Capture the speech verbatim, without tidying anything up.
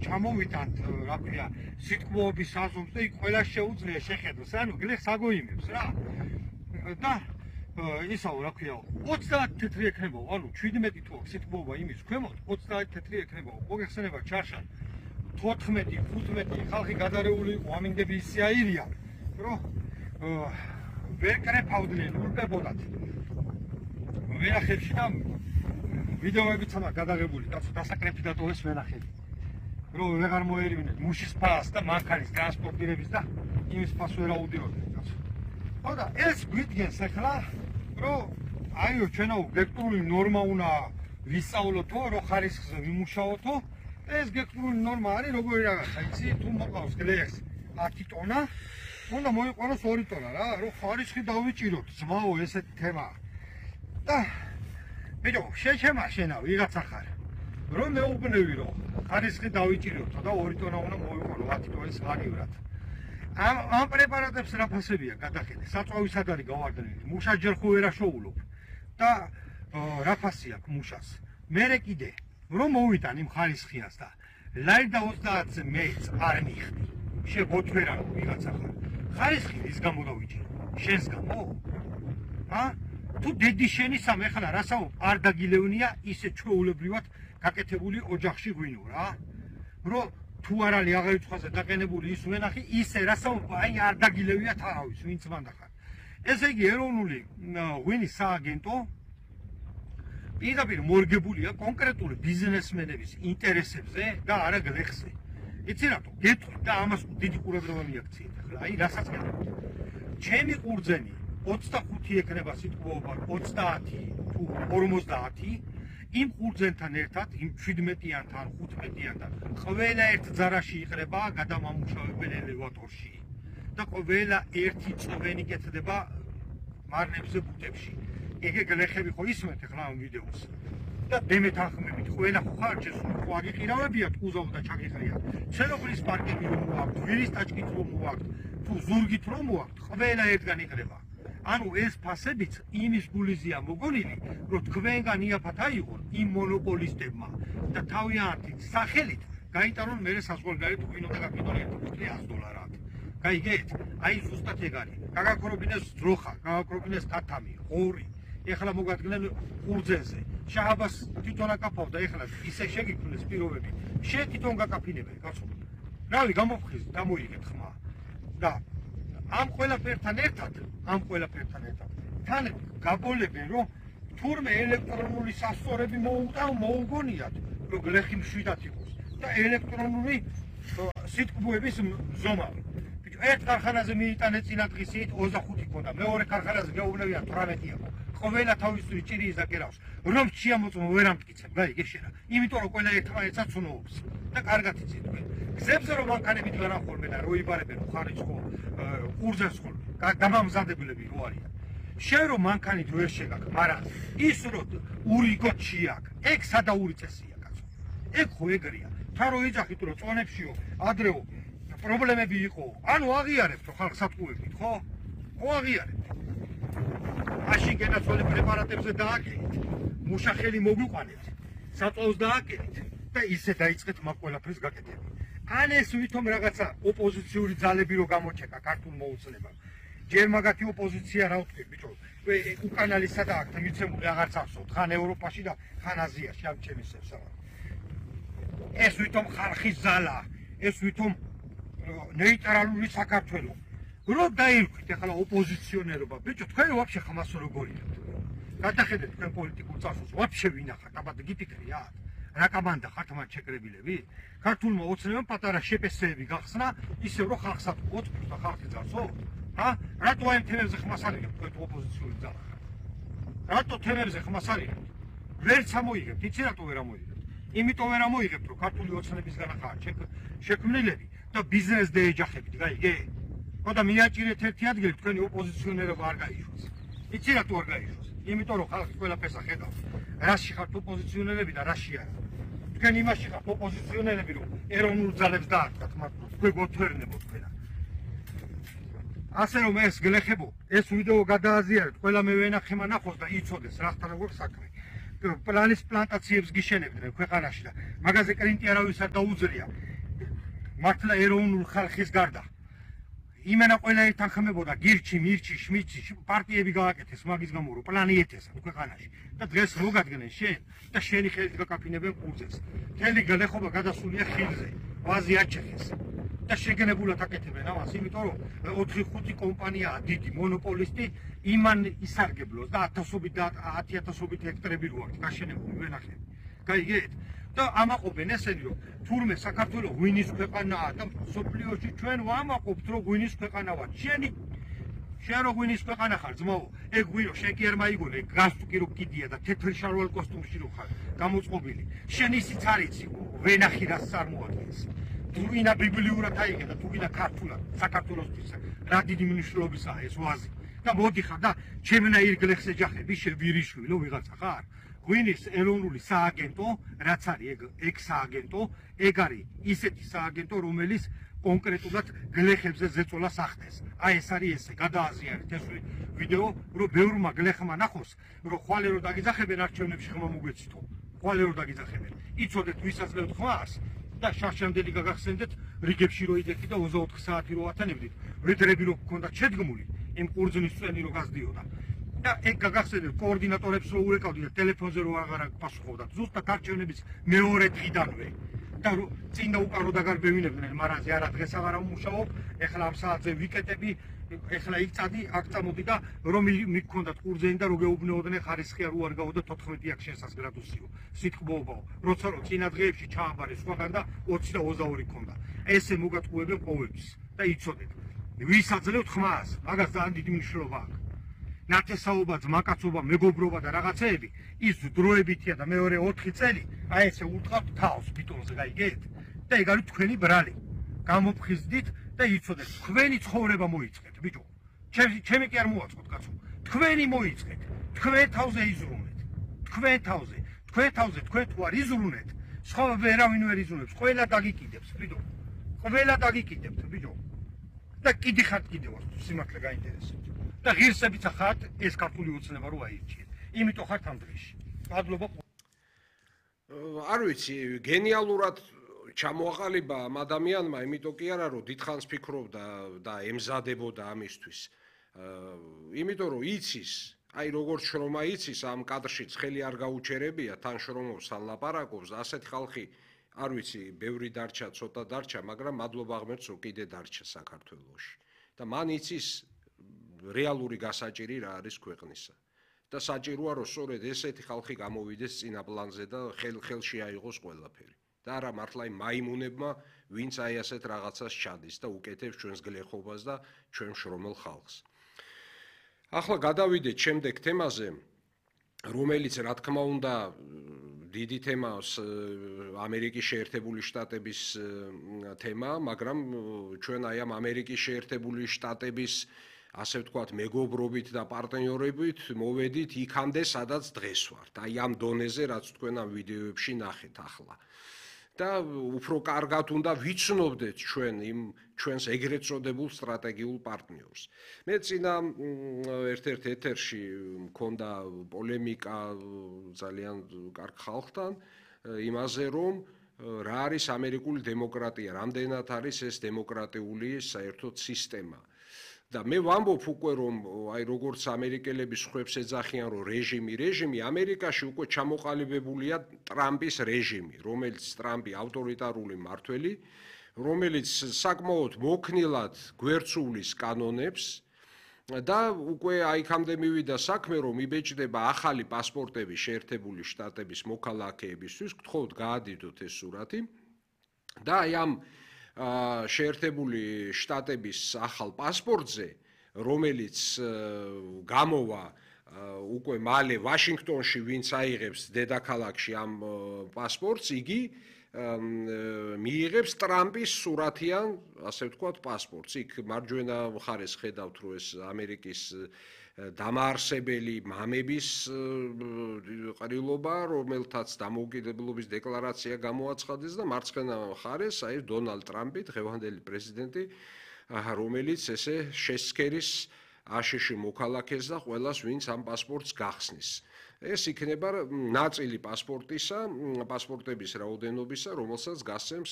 ჩამოვიტანთ, რა ქვია, სიტყვოების საზომს და იქ ყველა შეუძლია შეხედოს, ანუ გლეხს აგოიმებს რა. და ისაო, რა ქვია, ოცდაათი თეთრი ექნებაო, ანუ შვიდმეტი თუ აქვს სიტყვოობა იმის ქვემოთ, ოცდაათი თეთრი ექნებაო. მოგეხსენება ჩარშა თოთხმეტი, ხუთმეტი ხალხი გადარეული იყო, ამინდები ისე აირია, რომ ვერ კრეფავდნენ, ურბებოდათ. ვენახებში და ვიდეოებიც ამა გადაღებული, კაცო, დასაკრეფი დატოვეს ვენახები. რომ ვეღარ მოერივნენ მუშის ფასს და მანქანის ტრანსპორტირების და იმის ფასს ვერ აუდიოდნენ, კაცო. ხო და ეს გვიდგენს ახლა, რომ აიო, ჩვენო ვექტორული ნორმა უნდა ვისწავლოთო, რომ ხარისხზე ვიმუშაოთო. ეს ვექტორული ნორმა არის როგორი რაღაცა, იცი, თუ მოყავს გლეხს ათი ტონა, უნდა მოიყვანოს ორი ტონა რა, რომ ხარისხი დავიჭიროთ, ძმაო, ესეთი თემაა. და ბიჭო, შეჩემა შენა ვიღაცა ხარ. რომ მეუბნევი რომ ხარისხი დავიჭიროთ და ორი ტონა უნდა მოიყვანო ათი ტონის ღარივრად. ამ ამ პრეპარატებს რა ფასებია გადახედე, საწვავის არის გავარდნილი, მუშა ჯერ ხო ვერ აშოულობ და რა ფასი აქვს მუშას. მერე კიდე რომ მოვიტან იმ ხარისხიას და ლაირდა ოცდაათზე მეც არ მიხდი. შეგოთვერა ვიღაცა ხარ. ხარისხი ის გამო დავიჭირო? შენს გამო? ა? თუ დედი შენი სამ ეხლა რასაუბრ არ დაგილევნია ისე ჩვეულებრივად გაკეთებული ოჯახში ღვინო რა. რომ თუ არ არის აღარიცხვაზე დაყენებული ის ვენახი, ისე რასაუბრ აი არ დაგილევია თავის, ვინც მანდა ხარ. ესე იგი ეროვნული ღვინის სააგენტო პირდაპირ მორგებულია კონკრეტული ბიზნესმენების ინტერესებზე და არა გლეხზე. იცი რატო? გეტყვი და ამას დიდი ყურადღება მიაქციეთ ახლა. აი რასაც გეტყვი. ჩემი ყურძენი ოცდახუთი ექნება სიტყვოობა, ოცდაათი თუ ორმოცდაათი, იმ ყურძენთან ერთად, იმ შვიდმეტიანთან, ხუთმეტიანთან, ყველა ერთ ძარაში იყრება გადამამუშავებელი ელევატორში და ყველა ერთი წვენი კეთდება მარნებზე ბუტებში. ეგ გლეხები ხო ისმენთ ახლა ამ ვიდეოს. და დემეთანხმებით, ყველა ხარ შესული ხო აგიყირავებიათ უზავ და ჩაგიყრიათ. ცელობრის პარკები რომ მოაქვთ, ვირის ტაჭკით რომ მოაქვთ, თუ ზურგით რომ მოაქვთ, ყველა ერთგან იყრება. ანუ ეს ფასებიც იმის გულიზია მოგონილი, რომ თქვენგან იაფად აიღონ იმ მონოპოლისტებმა და თავიანთი სახელით გაიტანონ მერე საზღვარგარეთ ღვინო და გაკეთონ ერთი კუთრი ას დოლარად. გაიგეთ? აი ზუსტად ეგ არის. გაგაქრობინეს ძროხა, გაგაქრობინეს თათამი, ღორი. ეხლა მოგადგენენ ყურძენზე. შააბას თვითონ აკაფავდა, ეხლა ისე შეგიქმნეს პირობები. შენ თვითონ გაკაფინებენ, კაცო. რავი, გამოფხიზ, დამოიგეთ ხმა. და ამ ყველაფერთან ერთად, ამ ყველაფერთან ერთად, თან გაბოლებენ, რომ თურმე ელექტრონული სასწორები მოუტან, მოუგონიათ, რომ გლეხი მშვიდად იყოს და ელექტრონული სიტყვოების ზომა. ერთ ქარხანაზე მიიტანე წინა დღისით ოცდახუთი ქონდა, მეორე ქარხანაზე გაუვნებია თვრამეტი იყო. ყველა თავისური ჭირის და კერავს. რომ შეამოწმო ვერ ამტკიცებ, გაიგე შენა. იმიტომ რომ ყველა ერთმანეთსაც ცნობს და კარგად იცით თქვენ. გზებზე რომ მანქანებით განახორმენ და რო იბარებენ ხარიცხო ყურძენს ხოლმე, გამამზადებელები რო არიან. შენ რომ მანქანით ვერ შეგაქ, მაგრამ ის რომ ურიგოჩი აქვს, ეგ სადაური წესია, კაცო. ეგ ხო ეგრეა. თან რო იძახით რომ წონებშიო, ადრეო პრობლემები იყო. ანუ აღიარებთ ხალხს ატყუებით, ხო? ხო აღიარებთ. მაშინ გენაცვლები პრეპარატებზე დააკეთეთ, მუშახელი მოგვიყვანეთ, საწვავს დააკეთეთ და ისე დაიწყეთ მაგ ყველაფერს გაკეთება. ან ეს ვითომ რაღაცა ოპოზიციური ძალები რო გამოჩეკა ქართულ მოუწნებამ. ჯერ მაგათი ოპოზიცია რა ვთქვი, ბიჭო, უკანალი სადა აქ მიცემული აღარც ახსოვთ, ხან ევროპაში და ხან აზიაში ამ ჩემისებს რა. ეს ვითომ ხალხის ზალა, ეს ვითომ ნეიტრალური საქართველო. რო დაირქვით ახლა ოპოზიციონერობა, ბიჭო, თქვენ ვაფშე ხმას როგორია? გადახედეთ თქვენ პოლიტიკურ წარსულს, ვაფშე ვინახართ, აბა გიფიქრიათ? რა კამანდა ხართ მათ შეკრებილები? ქართულმა ოცნებამ პატარა შეპესეები გახსნა, ისევ რომ ხალხს ატყუოთ და ხალხი ძარცო? ჰა? რატო აი თემებზე ხმას არიღებთ თქვენ ოპოზიციური ძალა? რატო თემებზე ხმას არიღებთ? ვერც ამოიღებთ, იცი რატო ვერ ამოიღებთ? იმიტომ ვერ ამოიღებთ, რომ ქართული ოცნებისგან ხართ შექმნილები და ბიზნესზე ეჯახებით, გაიგე? ხო და მიაჭირეთ ერთი ადგილი თქვენი ოპოზიციონერობა არ გაიშვას. იცი რატო არ გაიშვას? იმიტომ რომ ხალხი ყველაფერს ახედავს. რაში ხართ ოპოზიციონერები და რაში არა. თქვენ იმაში ხართ ოპოზიციონერები, რომ ეროვნულ ძალებს დაარტყათ, მაგრამ თქვენ გოთვერნებოთ თქვენ. ასე რომ ეს გლეხებო, ეს ვიდეო გადააზიარეთ, ყველა მე ვენახე მანახოს და იცოდეს რა ხარ როგორ საქმე. პლანის პლანტაციებს გიშენებდნენ ქვეყანაში და მაგაზე კრინტი არავის არ დაუძლია. მართლა ეროვნულ ხალხის გარდა იმენა ყველა ეთანხმებოდა გირჩი, მირჩი, შმიცი, პარტიები გააკეთეს მაგის გამო რომ პლანი ეთესა ქვეყანაში და დღეს მოგადგენენ შენ და შენი ხელით გაკაფინებენ ყურძენს. მთელი გლეხობა გადასულია ხილზე, ვაზი აჩეხეს და შეგენებულად აკეთებენ ამას, იმიტომ რომ ოთხი ხუთი კომპანიაა დიდი მონოპოლისტი, იმან ისარგებლოს და ათასობით და ათი ათასობით ჰექტარები რო აქვს გაშენებული ვენახები. გაიგეთ? და ამაყობენ ესენი რომ თურმე საქართველოს ღვინის ქვეყანაა და სოფლიოში ჩვენ ვამაყობთ რომ ღვინის ქვეყანა ვართ. შენი შენ რო ღვინის ქვეყანა ხარ ძმაო, ეგ ღვინო შენ კი არ მაიგონე, გასტუ კი რო კიდია და თეთრი შარვალ კოსტუმში რო ხარ გამოწყობილი. შენ ისიც არ იცი ვენახი რას წარმოადგენს. თუ ვინა ბიბლიურად აიგე და თუ ვინა ქართულად საქართველოსთვის რა დიდი მნიშვნელობისაა ეს ვაზი. და მოდიხარ და ჩემნაირ გლეხს ეჯახები შენ ვირიშვილო ვიღაცა ხარ. ღვინის ეროვნული სააგენტო, რაც არის ეგ ეგ სააგენტო, ეგ არის ისეთი სააგენტო, რომელიც კონკრეტულად გლეხებზე ზეწოლას ახდენს. აი ეს არის ესე, გადააზიანეთ ეს ვიდეო, რომ ბევრმა გლეხმა ნახოს, რომ ხვალე რო დაგიძახებენ არჩევნებში ხმა მოგვეცითო. ხვალე რო დაგიძახებენ. იცოდეთ ვისაძლევთ ხმას და შარშანდელი გაგახსენდეთ, რიგებში რო იდექი და ოცდაოთხ საათი რო ათანებდით, ვედრები რო გქონდათ შედგმული, იმ ყურძნის წვენი რო გასდიოდა. და ეგ გაგახსენებთ კოორდინატორებს რო ურეკავდით და ტელეფონზე რო აღარ პასუხობდათ ზუსტად არჩევნების მეორე დღიდანვე და წინ და უკან რო დაგარბევინებდნენ მარაზე არა დღეს აღარ ამუშაობ ეხლა ამ საათზე ვიკეტები ეხლა იწადი აქ წამოდი და რომ მიგქონდათ ყურძენი და რო გეუბნეოდნენ ხარისხი არ უარგაო და თოთხმეტი აქ შენსას გრადუსიო სიტყვაობაო როცა რო წინა დღეებში ჩააბარე სხვაგან და ოცი და ოცდაორი ქონდა ესე მოგატყუებენ ყოველთვის და იცოდეთ ვისაძლევთ ხმას მაგას ძალიან დიდი მნიშვნელობა აქვს ნათესაობა, ძმაკაცობა, მეგობრობა და რაღაცეები ის დროებითია და მეორე ოთხი წელი აი ესე უთყავთ თავს ბიტონზე გაიგეთ? და ეგ არის თქვენი ბრალი. გამოფხიზდით და იცოდეთ, თქვენი ცხოვრება მოიწყეთ, ბიჭო. ჩემი ჩემი კი არ მოაწყოთ, კაცო. თქვენი მოიწყეთ. თქვენ თავზე იზრუნეთ. თქვენ თავზე. თქვენ თავზე თქვენ თუ არ იზრუნეთ, სხვა ვერავინ ვერ იზრუნებს. ყველა დაგიკიდებს, ბიჭო. ყველა დაგიკიდებთ, ბიჭო. და კიდი ხართ კიდევაც სიმართლე გაინტერესებთ. და ღირსებიც ხართ ეს ქართული ოცნება რო აირჩიეთ. იმიტომ ხართ ამ დღეში. მადლობა. არ ვიცი, გენიალურად ჩამოაყალიბა ამ ადამიანმა, იმიტომ კი არა, რომ დიდხანს ფიქრობდა და ემზადებოდა ამისთვის. იმიტომ რომ იცის, აი როგორც შრომა იცის ამ კადრშიც ხელი არ გაუჩერებია, თან შრომობს, თან ლაპარაკობს, ასეთი ხალხი არ ვიცი, ბევრი დარჩა, ცოტა დარჩა, მაგრამ მადლობა ღმერთს, რომ კიდე დარჩა საქართველოში. და მან იცის რეალური გასაჭირი რა არის ქვეყნისა. და საჭიროა რომ სწორედ ესეთი ხალხი გამოვიდეს წინა პლანზე და ხელ ხელში აიღოს ყველაფერი. და არა მართლა იმ მაიმუნებმა, ვინც აი ასეთ რაღაცას ჩადის და უკეთებს ჩვენს გლეხობას და ჩვენ შრომელ ხალხს. ახლა გადავიდეთ შემდეგ თემაზე, რომელიც რა თქმა უნდა დიდი თემა ამერიკის შეერთებული შტატების თემა, მაგრამ ჩვენ აი ამ ამერიკის შეერთებული შტატების ასე ვთქვათ, მეგობრობით და პარტნიორობით მოვედით იქამდე, სადაც დღეს ვართ. აი ამ დონეზე, რაც თქვენ ამ ვიდეოებში ნახეთ ახლა. და უფრო კარგად უნდა ვიცნობდეთ ჩვენ იმ ჩვენს ეგრეთ წოდებულ სტრატეგიულ პარტნიორს. მე წინა ერთ-ერთ ეთერში მქონდა პოლემიკა ძალიან კარგ ხალხთან იმაზე, რომ რა არის ამერიკული დემოკრატია, რამდენად არის ეს დემოკრატიული საერთოდ სისტემა. და მე ვამბობ უკვე რომ აი როგორც ამერიკელები სხვებს ეძახიან რომ რეჟიმი რეჟიმი ამერიკაში უკვე ჩამოყალიბებულია ტრამპის რეჟიმი რომელიც ტრამპი ავტორიტარული მმართველი რომელიც საკმაოდ მოქნილად გვერდსულის კანონებს და უკვე აიქამდე მივიდა საქმე რომ იბეჭდება ახალი პასპორტები შეერთებული შტატების მოქალაქეებისთვის გთხოვთ გაადიდოთ ეს სურათი და აი ამ შეერთებული შტატების ახალ პასპორტზე, რომელიც გამოვა უკვე მალე ვაშინგტონში, ვინც აიღებს დედაქალაქში ამ პასპორტს, იგი მიიღებს ტრამპის სურათიან, ასე ვთქვათ, პასპორტს. იქ მარჯვენა მხარეს ხედავთ, რომ ეს ამერიკის დამაარსებელი მამების ყრილობა, რომელთაც დამოუკიდებლობის დეკლარაცია გამოაცხადეს და მარცხენა მხარეს აი დონალდ ტრამპი, დღევანდელი პრეზიდენტი, რომელიც ესე შესცქერის აშშ მოქალაქეს და ყველას, ვინც ამ პასპორტს გახსნის. ეს იქნება ნაწილი პასპორტისა, პასპორტების რაოდენობისა, რომელსაც გასცემს